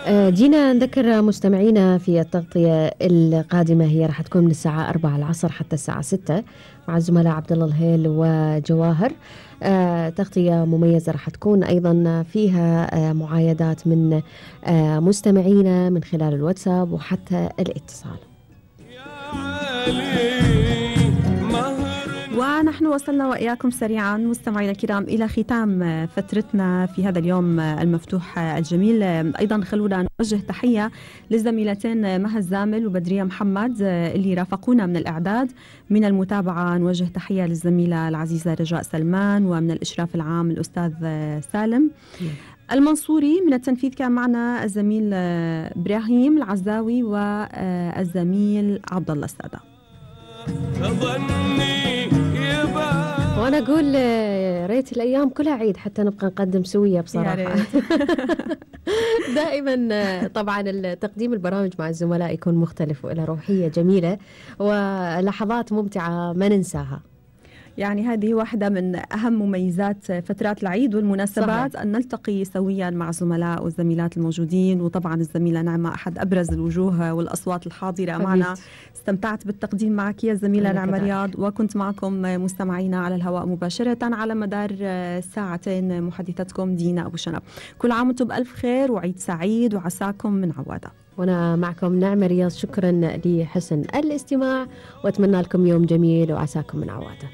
جينا نذكر مستمعينا في التغطية القادمة، هي راح تكون من الساعة 4 العصر حتى الساعة 6 مع الزملاء عبد الله الهيل وجواهر. تغطية مميزة راح تكون أيضا فيها معايدات من مستمعينا من خلال الواتساب وحتى الاتصال. ونحن وصلنا وإياكم سريعا مستمعينا الكرام إلى ختام فترتنا في هذا اليوم المفتوح الجميل. أيضا خلونا نوجه تحية للزميلتين مها الزامل وبدرية محمد اللي رافقونا من الإعداد. من المتابعة نوجه تحية للزميلة العزيزة رجاء سلمان، ومن الإشراف العام الأستاذ سالم المنصوري. من التنفيذ كان معنا الزميل إبراهيم العزاوي والزميل عبد الله السادة. وأنا أقول ريت الأيام كلها عيد حتى نبقى نقدم سوية بصراحة. دائما طبعا تقديم البرامج مع الزملاء يكون مختلف وإلى روحية جميلة ولحظات ممتعة ما ننساها. يعني هذه واحدة من أهم مميزات فترات العيد والمناسبات، صحيح. أن نلتقي سويا مع الزملاء والزميلات الموجودين، وطبعا الزميلة نعمة أحد أبرز الوجوه والأصوات الحاضرة معنا. استمتعت بالتقديم معك يا زميلة نعمة رياض، وكنت معكم مستمعينا على الهواء مباشرة على مدار ساعتين محدثتكم دينا أبو شنب. كل عام وانتم بألف خير وعيد سعيد وعساكم من عوادة. وأنا معكم نعمة رياض، شكرا لحسن الاستماع وأتمنى لكم يوم جميل وعساكم من عوادة.